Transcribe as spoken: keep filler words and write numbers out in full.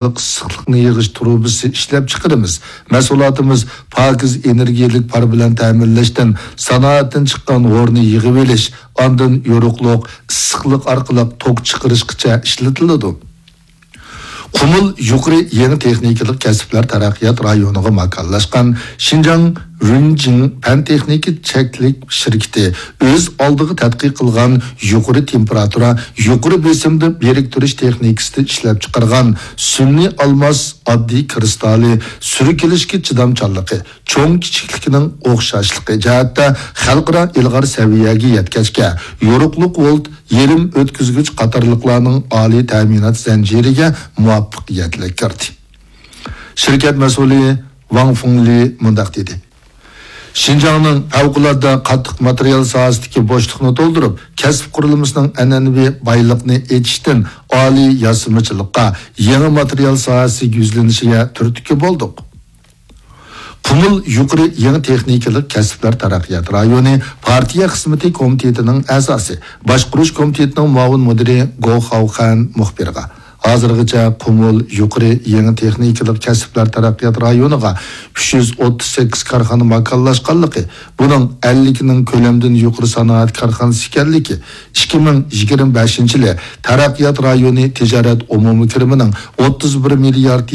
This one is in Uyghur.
ئىسسىقلىقنى يىغىش تۇرۇبىسى ئىشلەپچىقىرىمىز. مەھسۇلاتىمىز پاكىز ئېنېرگىيەلىك پار بىلەن تەمىنلەشتىن سانائەتتىن چىققان ھورنى يىغىۋېلىش، ئاندىن يورۇقلۇق، ئىسسىقلىق ئارقىلىق توك چىقىرىشقىچە ئىشلىتىلىدۇ. قۇمۇل يۇقىرى يېڭى تېخنىكىلىق كەسىپلەر تەرەققىيات رايونىغا ماكانلاشقان شىنجاڭ رۇنجىڭ پەن تېخنىكا چەكلىك شىركىتى ئۆز ئالدىغا تەتقىق قىلغان يۇقىرى تېمپېراتۇرا، يۇقىرى بېسىمدا بىرىكتۈرۈش تېخنىكىسىدا ئىشلەپچىقارغان سۈنئىي ئالماس ئاددىي كىرىستالى سۈركىلىشكە چىدامچانلىقى، چوڭ كىچىكلىكىنىڭ ئوخشاشلىقى جەھەتتە خەلقئارا ئىلغار سەۋىيەگە يەتكەچكە، يورۇقلۇق ۋولت، يېرىم ئۆتكۈزگۈچ قاتارلىقلارنىڭ ئالىي تەمىنات زەنجىرىگە مۇۋەپپەقىيەتلىك كىردى. شىركەت مەسئۇلى ۋاڭ فېڭلى مۇنداق دېدى: شىنجاڭنىڭ پەۋقۇلئاددە قاتتىق ماتېرىيال ساھەسىدىكى بوشلۇقنى تولدۇرۇپ، كەسىپ قۇرۇلمىسىنىڭ ئەنئەنىۋى بايلىقنى ئېچىشتىن ئالىي ياسىمىچىلىققا، يېڭى ماتېرىيال ساھەسىگە يۈزلىنىشىگە تۈرتكە بولدۇق. قۇمۇل يۇقىرى يېڭى تېخنىكىلىق كەسىپلەر تەرەققىيات رايونى پارتىيە خىزمىتى كومىتېتىنىڭ ئەزاسى، باشقۇرۇش كومىتېتىنىڭ مۇئاۋىن مۇدىرى گو خاۋخەن مۇخبىرغا، ھازىرغىچە قۇمۇل يۇقىرى يېڭى تېخنىكىلىق كەسىپلەر تەرەققىيات رايونىغا ئۈچ يۈز ئوتتۇز سەككىز كارخانا ماكانلاشقانلىقى، بۇنىڭ ئەللىكنىڭ كۆلەمدىن يۇقىرى سانائەت كارخانىسى ئىكەنلىكى، ئىككى مىڭ يىگىرمە بەشىنچى يىلى تەرەققىيات رايونى تىجارەت ئومۇمىي كىرىمىنىڭ ئوتتۇز بىر مىليارد